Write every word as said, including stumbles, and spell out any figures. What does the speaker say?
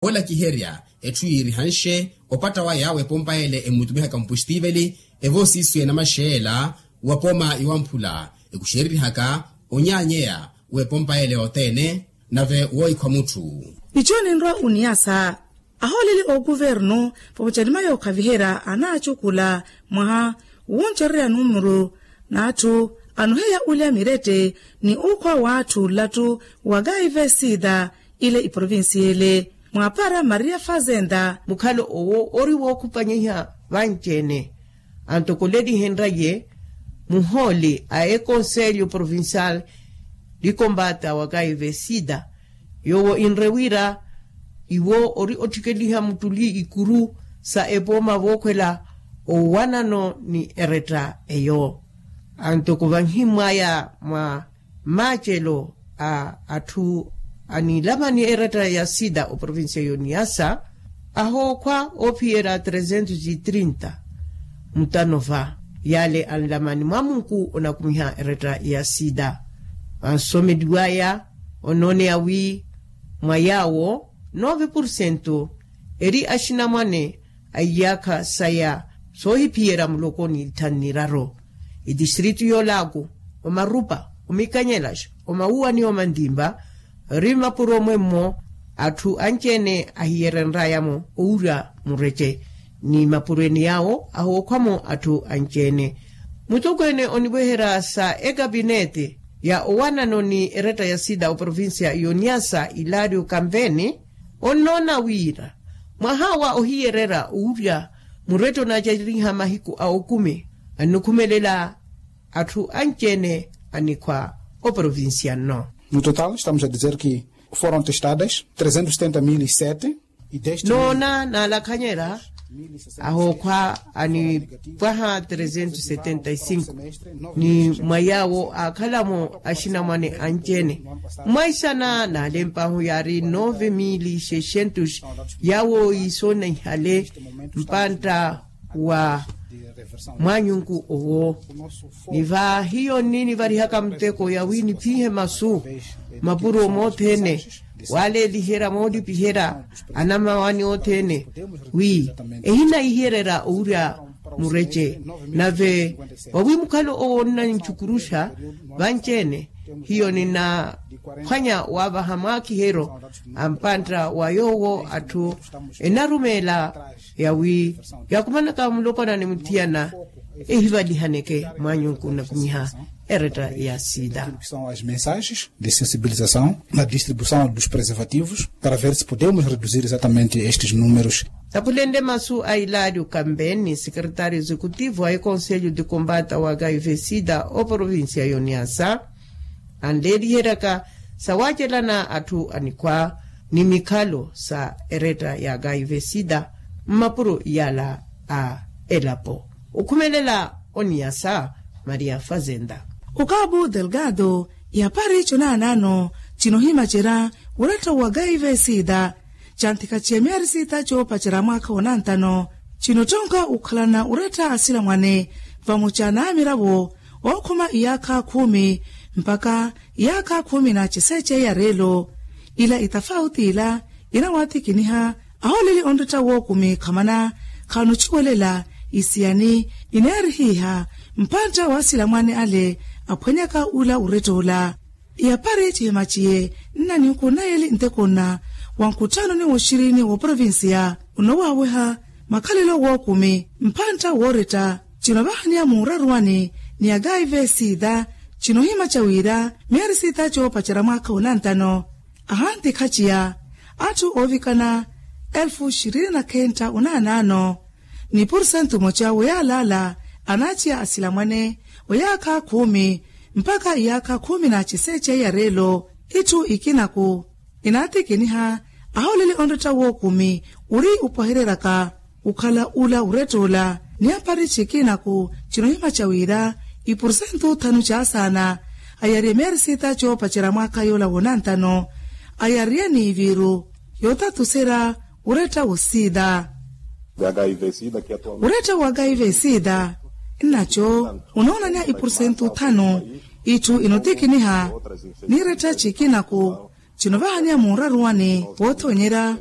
Oolakiherya etthu yiirihanxe opatta waya w'epompa ele emmutumihaka mpuxtiveli evoosiiswe namaxeela wa pooma yowamphula ekuxereryihaka onyaanyeya w'epompa ele othene nave woohikhwa mutthu. Ico ninrwa oniyasa ahooleli ookuvernu pamucanima yookhaviherya anaacukula mwaha wuncererya numuru n'atthu anoheya olya mirette ni okhwa w'atthu nlattu wa kaive sida ile iprovincia ile mwaapara maria fazenda. Mukhalo owo ori wookhupanyiha vanci-ene antokolelihenrye muhooli a ekonselyo provincial likombata wa kaive sida yoowo inre wira iwo ori otthikeliha muttuli ikuru sa epooma vookhwela owanano ni eretta eyo antoko vanhimwaya mwa maacelo a atthu anilamani eretta ya sida oprovincia yoniyasa ahookhwa oophiyerya trezentos e trinta mutano va yale anlamani mwa munku onakumiha eretta ya sida vansomeliwaya onooneya wi mwa yaawo nove porcento eri axinamwane a iyaakha saya soohiphiyerya muloko ni ithanu niraru itistritu yoolaaku omarupa omikanyelaxa omawuwa ni omantimpa ori mmapuro mwemmo atthu anci-ene ahiyerenraya-mo owurya murece ni mapuro ene yaawo ahookhwa-mo atthu anci-ene mutokweene oniweherya sa ekapinete ya owanano ni eretta ya sida oprovincia yoniyasa ilario kampeni onnoona wira mwaha wa ohiyererya owurya murette onaacariha mahiku a okumi annikhumelela atthu anci-ene anikhwa oprovincia nno. No total estamos a dizer que foram testadas trezentos setenta mil e sete. Noona naalakhanyerya ahookhwa anipwaha trezentos setenta e cinco ni mwa yaawo aakhala-mo axinamwane anci-ene mwaisana naalempahu yaari nove mil e seiscentos yaawo iisoonihale mpantta wa mwaanyunku owo ni va hiyo nninivarihaka muteko yawi niphihe masu mapuro mothene waaleeliherya moolipiherya anamawani othene wi ehinaihererya owurya murece nave wawi mukhalo owo onnancukuruxa vanci-ene hiyo ninaphwanya wavaha mwaakiheryo a mpantta wa yoowo atthu enarumeela yawi yaakumanaka mulopwana ni muthiyana ehivalihaneke mwaanyunku nnakumiha eretta ya sida. As mensagens de sensibilização na distribuição dos preservativos para ver se podemos reduzir exatamente estes números. Tapulenle masu a ilario kamben ni secretario executivo a ekonselho de combata wa kaive sida oprovincia yoniyasa anleeliheryaka sawaacelana atthu anikhwa ni mikhalo sa eretta ya kaive sida mmapuro yala a elapo okhumelela oniyasa maria fazenda. Okabu delgado yapari conaanano cinohimacerya uretta wa kaive sida canthikhaciye miyari sita coopacerya mwaakha onantano cinottonka okhalana uretta asilamwane vamoca n'amiravo ookhuma iyaakha khumi mpakha iyaakha khumi na ciseece ya reelo ila itafauti ila inawatikiniha ahooleli onretta wookumi khamana khanuciwelela isiyani ineerihiha mpantta wa asilamwane ale aphwanyaka ula uretta ula. Yapari cihema ciye nna ninku nayeli ntekonna wa nkutthanoni woxirini wa provincia onowaaweha makhalelo wookumi mpantta wooretta cinovahaniya muuraruwani ni akaive sida cinohima ca wira miyari sita coopacerya mwaakha onantano ahantikhaciya atthu oovikana elfu xirini na khentta onaanaano ni pursentu moca woyaalaala anaaciya asilamwane oyaakha khumi mpakha iyaakha khumi na ciseece ya reelo itthu ikinaku inaatikiniha ahooleli onretta wookumi ori opwahereryaka okhala ula uretta ola ni apari cikinaku cinohimaca wira ipursentu thanu caasaana ayariye miyari sita coopacerya mwaakha yoola woonantano ayariye n'iviru yootatuserya uretta wosida. Uretta wa kaive sida nnaco unoonaniha ipursentu thanu itthu inotikiniha n'iretta cikinaku cinovahaniha muuraruwani woothoonyerya